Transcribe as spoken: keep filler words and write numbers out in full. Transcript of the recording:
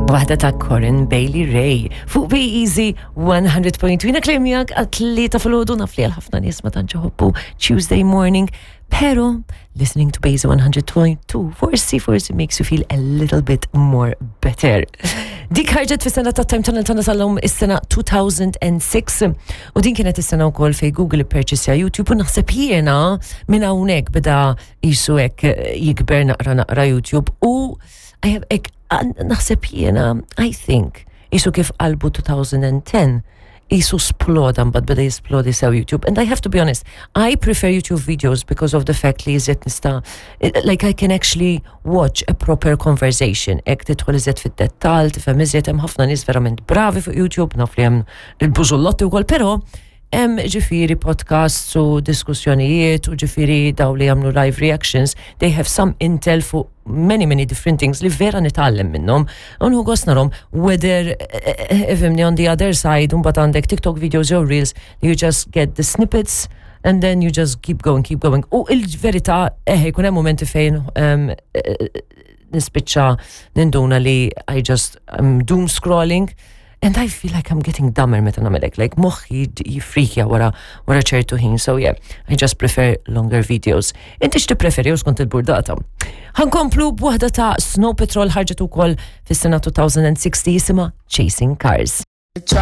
Waħda ta' Corinne Bailey Rae fuq Be Easy one hundred point two. Jiena klemmijak għat-tlieta filgħodu, naf li għal ħafna nies ma tantx iħobbu Tuesday morning, pero listening to Be Easy one hundred point two forsi forsi makes you feel a little bit more better. Dik ħarġet fis-sena ta' Time Tunnel tagħna tal-lum, is-sena two thousand and six, u din kienet is-sena wkoll fej Google purchase YouTube, u naħseb jiena minn hawnhekk beda jisu hekk jikber naqra naqra YouTube u I have ek, naħseb jiena, I think, jisu kif qalbu twenty ten, jisu sploda, mbagħad beda jisplodi sew YouTube. And I have to be honest, I prefer YouTube videos because of the fact li iżjed nista', like, I can actually watch a proper conversation. Ek tidħol iżjed fid-dettal, tifhem iżjed, hemm ħafna nies verament bravi fuq YouTube, naf li hemm il-bużullotti wkoll, però hemm ġifieri podcasts u diskussjonijiet u ġifieri daw li jagħmlu live reactions, they have some intel fuq many, many different things li vera nitgħallem minnhom. U nieħu gost narahom, whether, ifhimni, on the other side, mbagħad għandek TikTok videos or reels, you just get the snippets and then you just keep going, keep going. U il-verità, eħe, jkun hemm momenti fejn um, nispiċċa ninduna li I just am doom scrolling. And I feel like I'm getting dumber meta nagħmelek, like moħħi jifrikja wara wara ċertu ħin. So yeah, I just prefer longer videos. Inti x'tippreferi u skont il-burdata? Ħa nkomplu b'waħda ta' Snow Patrol, ħarġet ukoll fis-sena twenty sixteen, jisimha Chasing Cars. Try